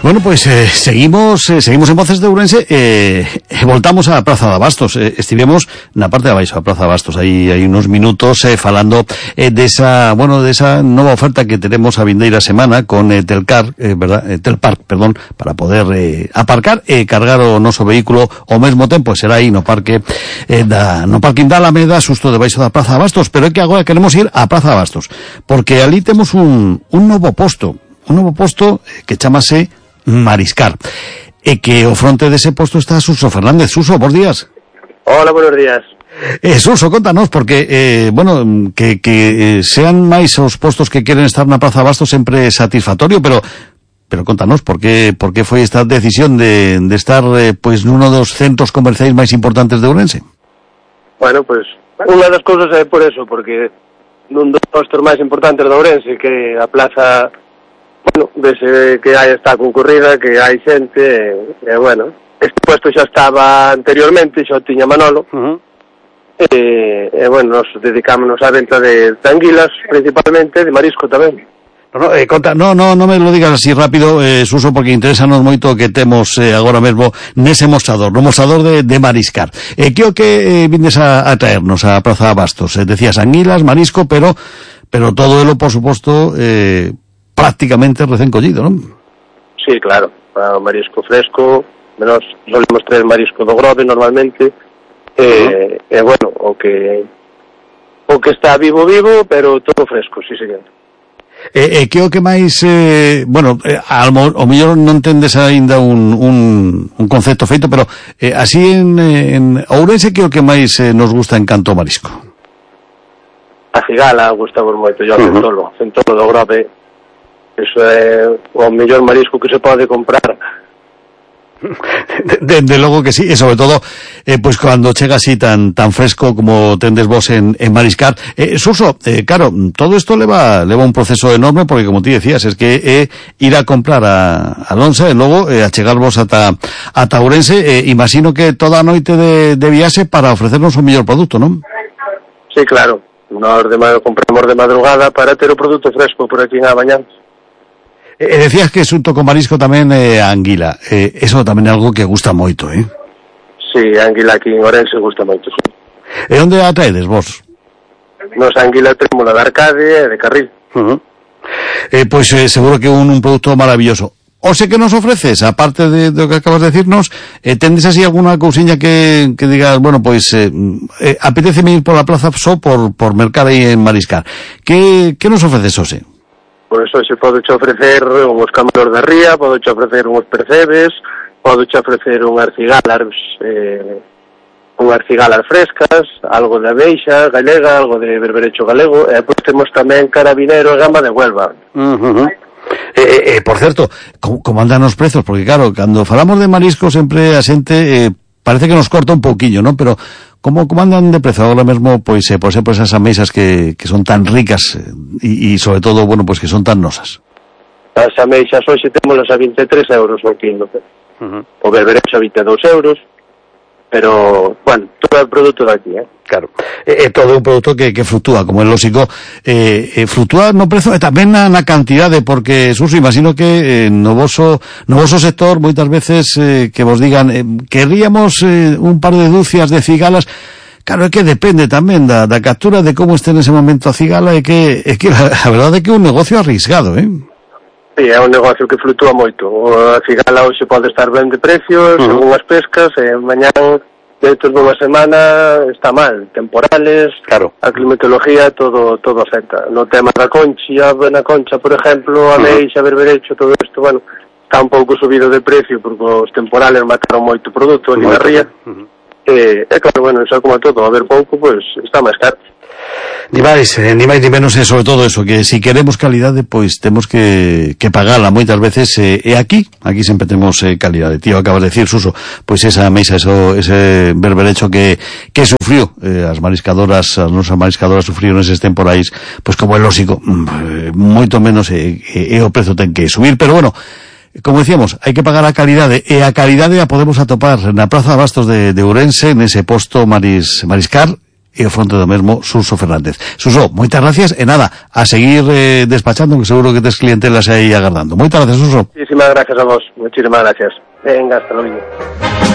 Bueno, pues seguimos en Voces de Ourense, voltamos a Praza de Abastos, estivemos na parte de abaixo, a Praza de Abastos, aí hai unos minutos falando de esa nova oferta que tenemos a vindeira semana con Telcar, Telpark, perdón, para poder aparcar e cargar o noso vehículo ao mesmo tempo, será aí no parque no parking da Alameda, xusto debaixo da Praza de Abastos, pero é que agora queremos ir á Praza de Abastos, porque ali temos un novo posto que chamase Mariscar, e que ao fronte dese posto está Suso Fernández. Suso, bons días. Hola, buenos días. Suso, contanos, porque, que sean máis os postos que queren estar na Praza de Abastos sempre satisfactorio, pero contanos, por que foi esta decisión de estar, pois, nuno dos centros comerciais máis importantes de Ourense? Bueno, pois, unha das cousas é por eso, porque nun dos postos máis importantes de Ourense, que a plaza... Bueno, desde que está concurrida, que hai xente, bueno, este puesto xa estaba anteriormente, xa o tiña Manolo, bueno, nos dedicámonos á venta de anguilas, principalmente, de marisco tamén. No me lo digas así rápido, Suso, porque interesanos moito que temos agora mesmo nese mostrador, no mostrador de Mariscar. Que o que vindes a traernos a Praza de Abastos? Decías anguilas, marisco, pero todo elo, por suposto, prácticamente recén collido, non? Sí, claro, o marisco fresco, menos solemos traer marisco do Grove normalmente, bueno, o que está vivo, pero todo fresco, sí, señor. Que o que máis, ao mellor non tendes aínda un concepto feito, pero así en Ourense, que o que máis nos gusta en canto marisco? A cigala gustamos moito, yo centolo do Grove. Eso é o mellor marisco que se pode comprar. De logo que sí, e sobre todo pois cando chega así tan fresco como tendes vos en Mariscar. Suso, claro, todo isto leva un proceso enorme, porque como ti decías, es que ir a comprar a Lonsa e logo a chegarvos ata Ourense, imagino que toda a noite de viaxe para ofrecernos o mellor produto, non? Sí, claro, nós compramos de madrugada para ter o produto fresco por aquí na mañá. Decías que xunto con marisco tamén a anguila, eso tamén é algo que gusta moito, Sí, a anguila aquí en Ourense gusta moito, sí. E onde a traedes vos? Nos anguila temos la de Arcade e de Carril. Pois seguro que un produto maravilloso. O sei que nos ofreces, aparte de do que acabas de decirnos, tendes así alguna cousiña que digas, bueno, pois apetéceme ir por la plaza só por mercar aí en Mariscar. Que nos ofreces, Ose? Por eso se pode che ofrecer unhos camaros de ría, pode che ofrecer unhos percebes, pode che ofrecer unhas cigalas frescas, algo de ameixa galega, algo de berberecho galego, e depois temos tamén carabinero e gamba de Huelva. Por certo, como andan os prezos? Porque claro, cando falamos de marisco sempre a xente parece que nos corta un pouquiño, non? Pero como andan de prezo agora mesmo, pois por exemplo esas ameixas que son tan ricas e sobre todo, bueno, pois que son tan nosas? As ameixas hoxe témolas a 23 euros o quilo. O berberecho a 22 euros, pero, bueno, todo é produto daqui, Claro, todo un produto que fluctúa, como é lógico, fluctúa no prezo e tamén na cantidade, porque, Suso, imagino que no voso sector, moitas veces que vos digan, querríamos un par de dúcias de cigalas. Claro, é que depende tamén da captura, de como este nese momento a cigala, e que a verdade é que é un negocio arrisgado, Sí, é un negocio que fluctúa moito. A cigala hoxe pode estar ben de precios, según as pescas, e mañán, dentro dunha semana, está mal. Temporales, claro. A climatología, todo afecta. No tema da concha, a concha, por exemplo, a meixa, berberecho, todo isto, bueno, está un pouco subido de precio, porque os temporales mataron moito produto ali na ría. Claro, bueno, eso como todo, a ver pouco, pois está máis caro. Ni máis ni menos, sobre todo eso, que si queremos calidade, pois temos que pagala moitas veces, e aquí sempre temos calidade. Tío, acabas de decir, Suso, pois esa mesa, ese berberecho que sufriu, as nosas mariscadoras sufriron eses temporais, pois como é lógico, moito menos o prezo ten que subir, pero bueno, como decíamos, hai que pagar a calidade, e a calidade a podemos atopar na Praza de Abastos de Ourense, nese posto Mariscar, e o fronte do mesmo Suso Fernández. Suso, moitas gracias e nada, a seguir despachando, que seguro que tes clientelas aí agardando. Moitas gracias, Suso. Muchísimas gracias a vos, muchísimas gracias. Venga, hasta luego.